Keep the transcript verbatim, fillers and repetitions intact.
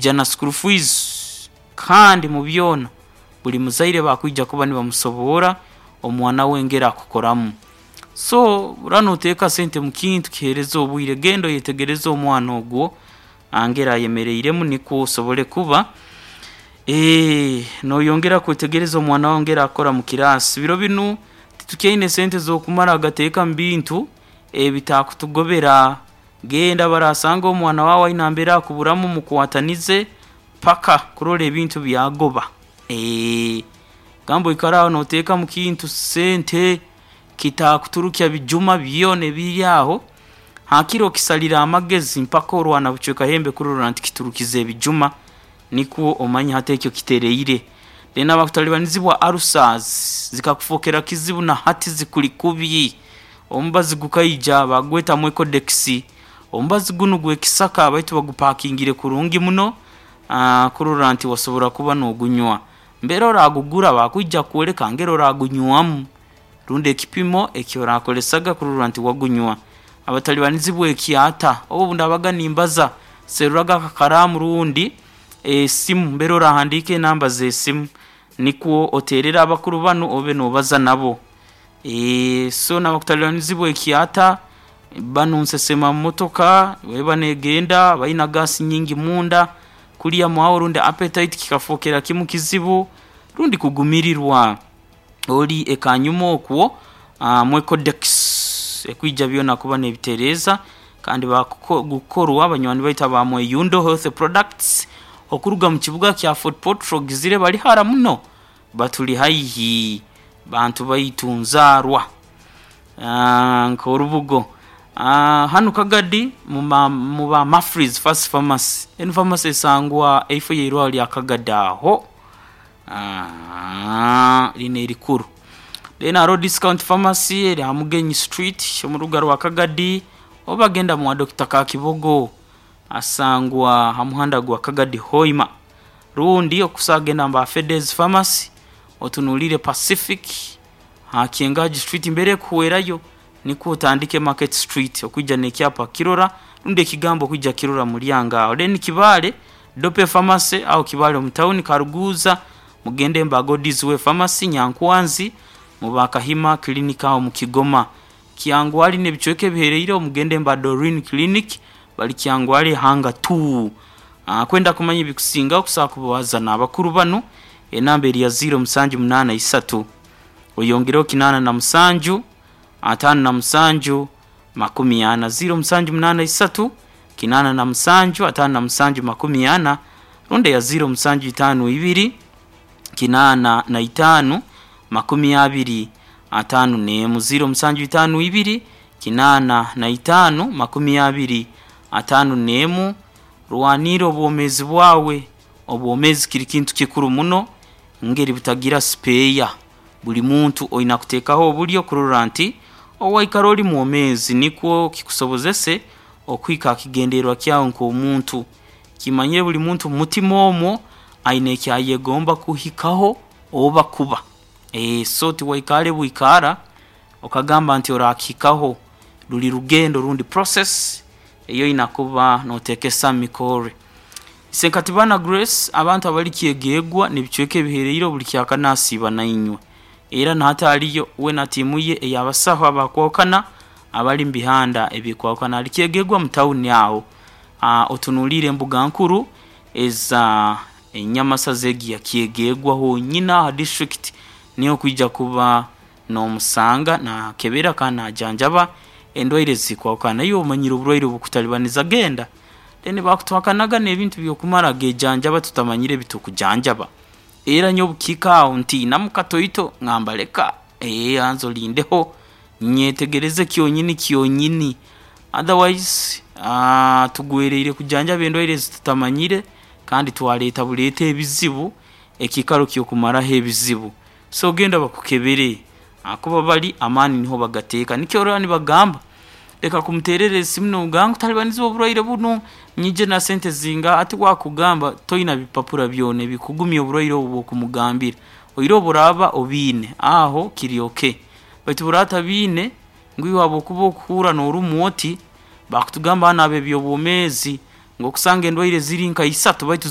Ija na school fees. Kandi mu byona buli muzaire bakwija kuba nibamusoboora omwana we engeri akukoramu. So ora noteeka sente mukintu kiheereza obwire, genda oyetegereze omwana ogwo engeri ayemereiremu, nikwo osobole kuba noyongera kwetegereza omwana waawe engeri akukora mu kiraasi. Biro binu titukyaine sente z'okumara gateeka mu bintu ebitakutugobera. Genda barasanga omwana waawe aine nambere akuburamu, mukwatanize paka kurora ebintu byagoba. Gamba oikale aho noteeka mu kintu sente kitakuturukya bijuma byona ebiri aho, hakiri okisalire amagezi mpaka orwana bucweka hembe kurora nti kiturukize ebijuma, nikwo omanye hati ekyo kitereire. Then abakutalibanizibwa ulcers zikakufokera kizibu na hati zikuli kubi, omubazi gukaija bagweta Mwecodex. Omubazi gunu gw'ekisaka baitu bagupakingire kurungi muno kurora nti wasobora kuba nogunywa. Mbere oragugura bakwija kukwoleka ngeri oragunywamu rundi ekipimo eki orakozesaga kurora nti wagunywa. Abatalibanizibwa ekyata, obu obundabaga nimbaza serraga akakaraamu rundi esimu mbere orahandiika enamba z'esimu nikwo oteerere abakuru banu obe noobaza nabo. So n'abakutalibanizibwa ekyata, banu nsesema mu motoka obu eba negenda baina gas nyingi munda, kulya mwaho rundi appetite kikafookera kimu kizibu rundi kugumirirwa, ori ekanyuma okwo, Mwecodex ekwija byona kuba neebitereeza. Kandi bakukorwa banywani baitu aba Mweyundo Health Products okuruga mu kibuga kya Fort Portal ogizire bali hara muno, batuli haihi bantu baitu nzaarwa nk'orubugo. Hanu Kagadi mu ba Mafrees First Pharmacy, enu pharmacy esangwa eifo y'eirwarro lya Kagadi aho linu erikuru. Then haroho Discount Pharmacy eri ha Mugenyi Street omu rubuga rwa Kagadi, oba genda mwa Doctor Kakibogo asangwa ha muhanda gwa Kagadi Hoima, rundi okusobola kugenda mba Fedes Pharmacy otunuliire Pacific ha Kyengaji Street mbere ekuhwerayo nikwo otandike Market Street okwija n'ekyapa kukirora rundi ekigambo okwija kukirora ha mulyango aho. Then Kibaale Dope Pharmacy aho Kibaale omu town, Karuguuza mugende mba God's Way Pharmacy, Nyankwanzi muba Kahima Clinic aho mu Kigoma, Kyangwali n'ebicweka ebiheereireho mugende mba Doreen Clinic bali Kyangwali Hanga two. Kwenda kumanya ebikusingaho okusobola kubaza n'abakuru banu, enamba eri ya ziro musanju munaana isatu oyongereho kinaana na musanju ataano na musanju makumi ana, ziro musanju munaana isatu kinaana na musanju ataano na musanju makumi ana, rundi eya ziro musanju itaano ibiri kinaana na itaano makumi abiri ataano n'emu, ziro musanju itaano ibiri kinaana na itaano makumi abiri ataano n'emu. Rwaniira obwomeezi bwawe, obwomeezi kiri kintu kikuru muno ngeri butagira spare. Buli muntu oina kuteekaho obulyo kurora nti owaikara oli mwomeezi nikwo kikusobozese okuhika ha kigendererwa kyawe nk'omuntu. Kimanyire buli muntu mu mutima omwo aine eki ayegomba kuhikaho oba kuba, so tiwaikaare bwikaara okagamba nti oraakihikaho, ruli rugendo rundi process ei oina kuba nooteekesa mu mikorre. Isenkatibana Grace, abantu abali Kyegegwa n'ebicweka ebiheereireho buli kyakana asiiba nainywe era na hati aliyo we na tiimu ye ey'abasaho abakwahukana abali mu bihanda ebikwahukana. Ali Kyegegwa mu tawuni aho, otunuliire embuga nkuru eza enyamasaza egi eya Kyegegwa honyini aho ha disiturikiti niho okwija kuba noomusanga naakebera kandi naajanjaba endwaire ezikwahukana. Iwe omanyire oburwaire obukutalibaniza genda, then bakutuhakanaga n'ebintu by'okumara geejanjaba tutamanyire ebitukujanjaba. Era nyowe obukihika aho ntiinamu katoito ngamba leka banza olindeho nyetegereze kyonyini kyonyini, otherwise tugwereire kujanjaba endwaire ezi tutamanyire kandi twaleeta buleete ebizibu ekiikaro ky'okumaraho ebizibu. So genda bakukebere ahakuba bali amaani niho bagateeka. Nikyo orora nibagamba leka kumuteerera esimu nomugamba nkutalibanizibwa oburwaire bunu, nyije na sente zingaha, hati uwe akugamba toina bipapura byona ebikugumya oburwaire obu obwokumugambira. Oihireho obu oraaba obiine, aho kiri okay, baitu obu oraaba otabiine ngu iwe habwokuba okuhuurra noorumwa oti, bakutugamba banu ab'eby'obwomeezi ngu okusanga endwaire ziri nka isatu baitu.